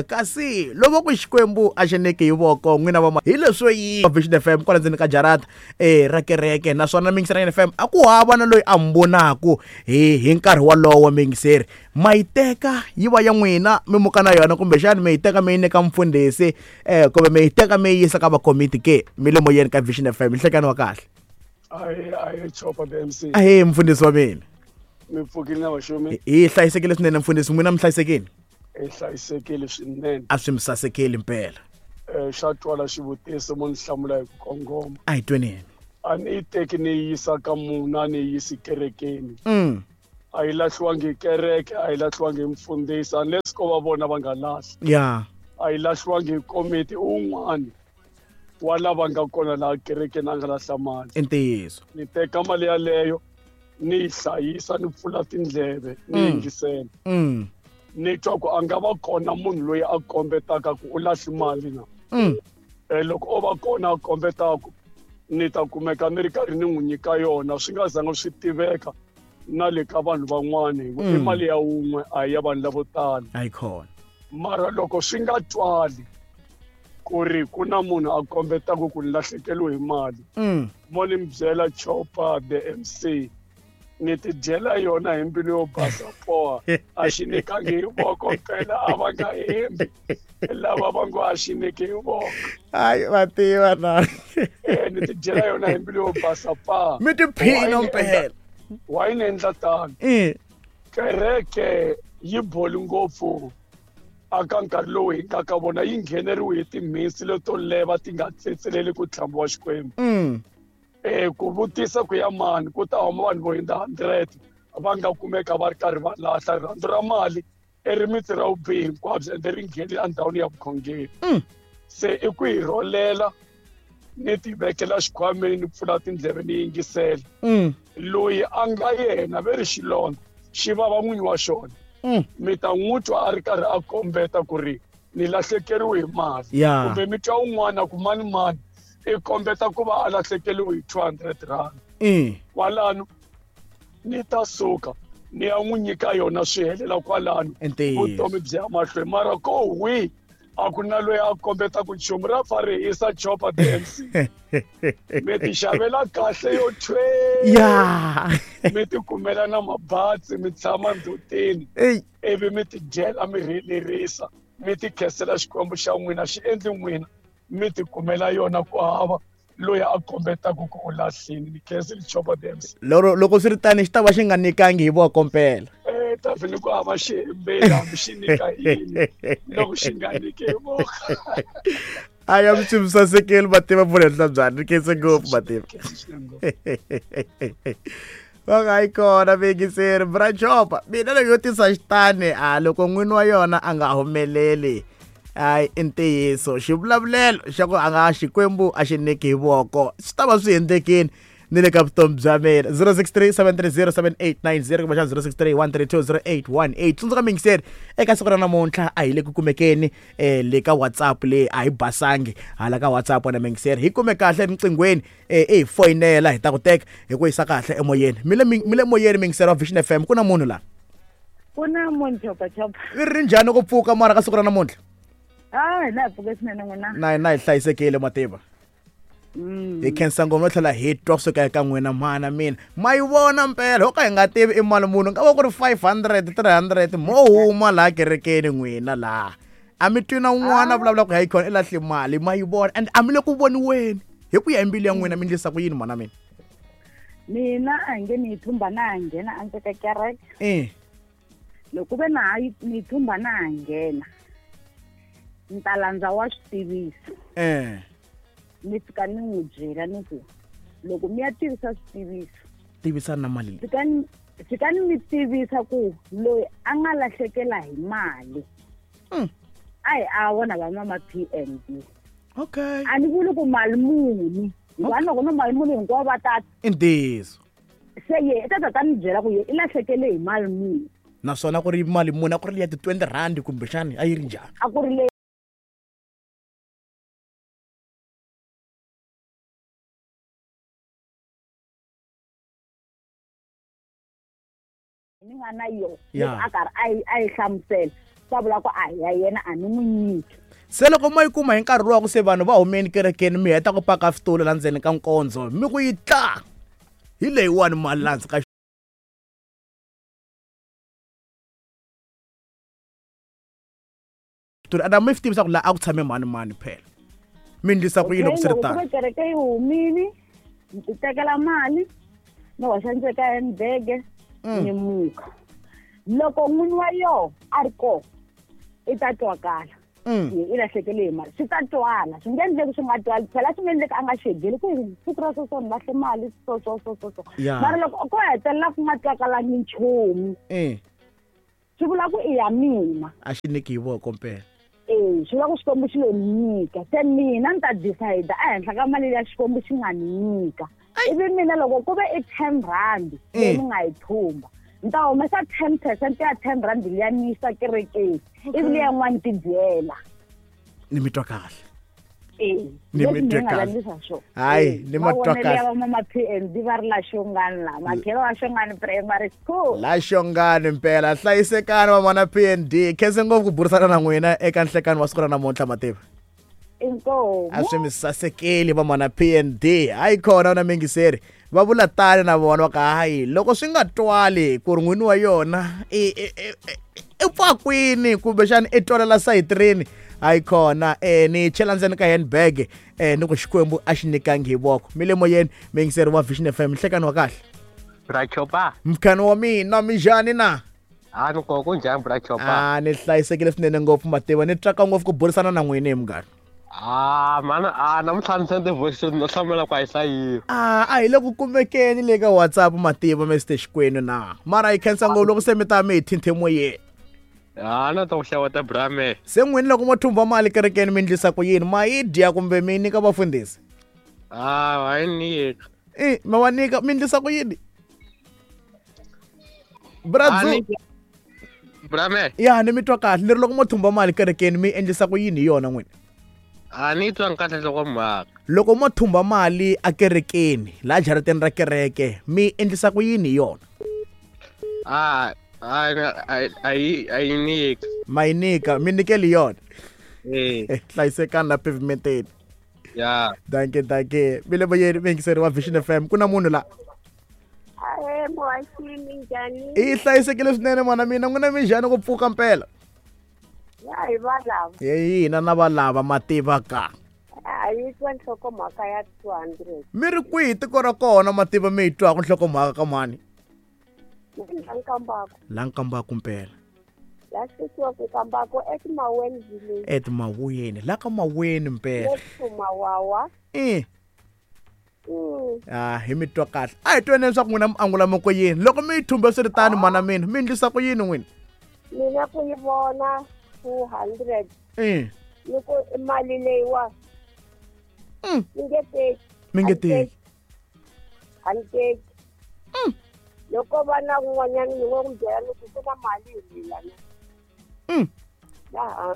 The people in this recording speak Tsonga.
Kasi loko ku Xikwembu a xi nyiki hi voko n'wina va hi leswo yi Vision FM kwala ndzeni ka jarata ra kereke, naswona Mingiseri FM a ku hava na loyi a mi vonaku hi nkarhi wolowo. Mingiseri ma yi teka yi va ya n'wina mi muka na yona, kumbexani mi yi teka mi yi nyika mfundhisi kumbe mi yi teka mi yi yisa ka vakomiti ke. Mi le moyeni ka Vision FM, nhlekani wa kahle. Ahe Chopa the MC. Ahe mfundhisi wa mina. Mi pfukile na vaxumi? Hi hlayisekile swinene mfundhisi, n'wina mi hlayisekile? Hi hlayisekile swinene. A swi mi sasekeli mpela. Xa twala xivutiso mo ni hlamula hi ku kongoma. A hi tweneni. A ni yi teki ni yi yisa ka munhu, a ni yi yisi kerekeni. A yi lahliwangi hi kereke, a yi lahliwangi hi mfundhisi, unless ko va vona va nga lahli. A yi lahliwangi hi komiti, un'wana wa lava nga kona laha kerekeni a nga lahla mali. I ntiyiso. Ni teka mali yaleyo ni yi hlayisa, ni pfula tindleve ni yingisela. Ni twa ku a nga va kona munhu loyi a kombetaka ku u lahli mali na. Loko o va kona a kombetaka, ni ta kumeka ni ri karhi ni n'wi nyika yona, swi nga zanga swi tiveka na le ka vanhu van'wana, hi ku i mali ya wun'we, a hi ya vanhu lavo tala. A yi kona. Mara loko swi nga twali ku ri ku na munhu a kombetaka ku ni lahlekeriwe hi mali, mo ni mi byela Chopa the MC, ni ti dyela yona hi mbilu yo basa poha, a xi nyikangi hi voko phela, a va nga hembi lava va ngo a xi nyiki hi voko. Hayi va tiva na. Ni ti dyela yona hi mbilu yo basa pa. Mi tiphina mpela. Why ni endla tano? Kereke yi boli ngopfu aka nkarhi lowu hi nga ka vona, yi ngheneriwe hi timhinsi leto leva ti nga tsetseleli ku tlhambi wa Xikwembu. Ku vutisa ku ya mani, ku ta huma vanhu vo hundza 100 va nga kumeka va ri karhi va lahla. Rirhandzu ra mali i rimitsu ra vubihi hinkwabyo, ende ri nghenile endhawini ya vukhongeri. Se i ku hi rholela, ni ti vekela xikhwameni, ni pfula tindleve ni yingisela. Loyi a nga yena ve ri xilondza xi vava n'winyi wa xona. Mi ta n'wi twa a ri karhi a kombeta ku ri ni lahlekeriwe hi mali. Kumbe mi twa un'wana ku mani mani i kombeta ku va a lahlekeriwe hi 200 rand. Kwalano ni ta suka ni ya n'wi nyika yona, swi helela kwalano. Vutomi byi ya mahlweni. Mara ko hwi a ku na loyi a kombetaka nchumu, ra fa ri hisa Chopa the MC. Mi ti xavela kahle yo thwe. Mi ti kumela na mabatsi, mi tshama ndzhutini. Ivi mi ti dyela, mi rhelerisa, mi ti khensela Xikwembu xa n'wina, xi endli n'wina mi ti kumela yona, ku hava loyi a kombetaka ku u lahlini. Ni khensile Chopa the MC. Loko swi ri tani xi ta va xi nga nyikangi hi voko mpela. Ta vhele ku hava xi hembeli, hambi xi nyika yini, loko xi nga nyiki hi voko. A ya swi mi sasekeli mativa pfuna henhla byani, ni khense ngopfu mativa. Va nga yi kona vekiseri bra Chopa, mina loko yo tisa xitani, a loko n'wini wa yona a nga humeleli, hayi i ntiyiso xivulavulelo xa ku a nga Xikwembu a xi nyiki hi voko, swi ta va swi endlekini ni le ka vutomi bya mina. 063 730 7890 kumbexana 063 132 0818. Tsundzuka mingiseri, eka siku ra namuntlha a hi le ku kumekeni le ka WhatsApp, le a hi basangi hala ka WhatsApp na mingiseri, hi kume kahle rinqinghweni, i hi foyinela hi ta ku teka hi ku yisa kahle emoyeni. Mi le moyeni mingiseri wa Vision FM, ku na munhu la? Ku na munhu Chopa Chopa. Vi ri njhani ku pfuka mara ka siku ra namuntlha? Ah, na hi pfuke swinene n'wina. Na hina hi hlayisekile mativa. Hi khensa ngopfu no tlhela hi twa kusuka eka n'wina mhana mina. Ma yi vona mpela, ho ka hi nga tivi i mali munhu, nga va ku ri 500, 300, mo huma laha kerekeni n'wina laha. A mi twi na un'wana a vulavula ku hayi khona i lahle mali, ma yi vona and a mi le ku voniweni. Hi ku ya hi mbilu ya n'wina mi endlisa ku yini mhana mina? Mina a hi nge ni yi thumba na ha nghena a ndzi ka kereke. Loko ve na ha yi ni yi thumba na ha nghena, ni ta landza wa swi tivisa. Ni fika ni n'wi byela ni ku loko mi ya tivisa switiviso, tivisa na mali leyi. Fikani mi tivisa ku loyi a nga lahlekela hi mali. A hi a vona va mama PNB. A ni vuli ku mali muni. Hikuva loko no mali muni hinkwavo va ta. I ntiyiso. Se ye i ta ta ta ni byela ku ye i lahlekele hi mali muni. Naswona ku ri mali muni, a ku ri ya ti 20 rand kumbexani a yi ri njhani? A ku ri le ni nga na yona. Loko a karhi a yi hlamusela. Ta vula ku a hi ya yena, a ni n'wi nyiki. Se loko mo yi kuma hi nkarhi luwa ku se vanhu va humeni kerekeni, mi heta ku paka switulu la ndzeni ka nkondzo, mi ku yi tla hi leyiwani mali la hansi ka xitulu, a mi swi tivisa ku laha a ku tshame mani mani phela, mi ndlisa ku yini loko swi ri tano? Loko kereke yi humini, ni ti tekela mali, ni hoxa ndzeni ka handbag, ni muka. Loko n'wini wa yoho a ri kona, i ta twakala. I lahlekele hi mali, swi ta twala, swi nge endleki swi nga twali. Phela swi nge endleki a nga xegeli ku siku ra so so ni lahle mali so so so so so. Mara loko ko hetelela ku nga twakalangi nchumu, swi vula ku i ya mina. A xi nyiki hi voko mpela. Swi vula ku Xikwembu xi lo ni nyika. Se mina ni ta decide ehenhla ka mali ya Xikwembu xi nga ni nyika. Ivi mina loko ku ve i 10 rand leyi ni nga yi thumba, ni ta humesa 10% ya 10 rand liya ni yisa kerekeni, ivi liya yin'wana ti dyela. Ni mi twa kahle. Ni mi twe kahle. Hayi, ni ma twa kahle. Va mama PND va ri la Xongani la, makhelo wa Xongani Primary School. La Xongani mpela, hlayisekani vamana PND. Khense ngopfu ku burisana na n'wina eka nhlekani wa siku ra namuntlha, Mativa. Inkomu. A swi mi sasekeli vamana PND. Hayi khona na mingiseri. Va vula tani na vona va ka hayi loko swi nga twali ku ri n'wini wa yona i pfa kwini kumbexana i twalela sayitirini. Hayi khona ni chela ndzeni ka handbag ni ku Xikwembu a xi nyikangi hi voko. Mi le moyeni mingiseri wa Vision FM, nhlekani wa kahle. Bra Chopa. Mkhani wa mina, minjhani na? A ni kona, kunjhani Bra Chopa? A ni hlayisekile swinene ngopfu Mativa, ni tsaka ngopfu ku burisana na n'wina hi munghana. Mana, namuntlha ni sende voice no hlamula ku a yi hlayiwi. A hi le ku kumekeni le ka WhatsApp Mativa, Mr Xikwenu na. Mara hi khensa ngopfu loko se mi ta mi hi thinthe moyeni. Na ta ku xeweta Brame. Se n'wini loko mo thumba mali kerekeni mi ndlisa ku yini? Ma yi dya kumbe mi nyika vafundhisi? Va yi nyika. Ma va nyika, mi ndlisa ku yini? Bradzu. Brame. Ya, ni mi twa kahle. Ni ri loko mo thumba mali kerekeni mi endlisa ku yini hi yona n'wina? A ni twa kahle loko mhaka. Loko mo thumba mali a kerekeni, laha jarateni ra kereke, mi endlisa ku yini hi yona? A yi nyika. Ma yi nyika, mi nyikeli yona. Hlayisekani la pavementeni. Ya. Danke, danke. Mi le moyeni miyingiseri wa Vision FM. Ku na munhu la. Ahe, muhaxi, minjhani? I hlayisekile swinene mwana mina, n'wina minjhani ku pfuka mpela? Ya hi valava. Hina na valava Mativa ka. A yi twa nhlokomhaka ya 200. Mi ri kwihi tiko ra kona Mativa mi yi twaka nhlokomhaka ka mani? La Nkambako. La Nkambako mpela. La sikiwa ku Nkambako eTimaweni village. Etimaweni, la ka Maweni mpela. Mawawa. Hi mi twa kahle. A hi tweni leswaku n'wina mi angula moko yini. Loko mi yi thumbe swi ri tani mana mina, mi ndlisa ku yini n'wina? Mina ku yi vona 200. Ni ku mali leyiwa. Mi nge teki. Mi nge teki. A ni teki. Loko va na un'wanyana ni ngo n'wi byela ni ku ku na mali hi lana. Laha.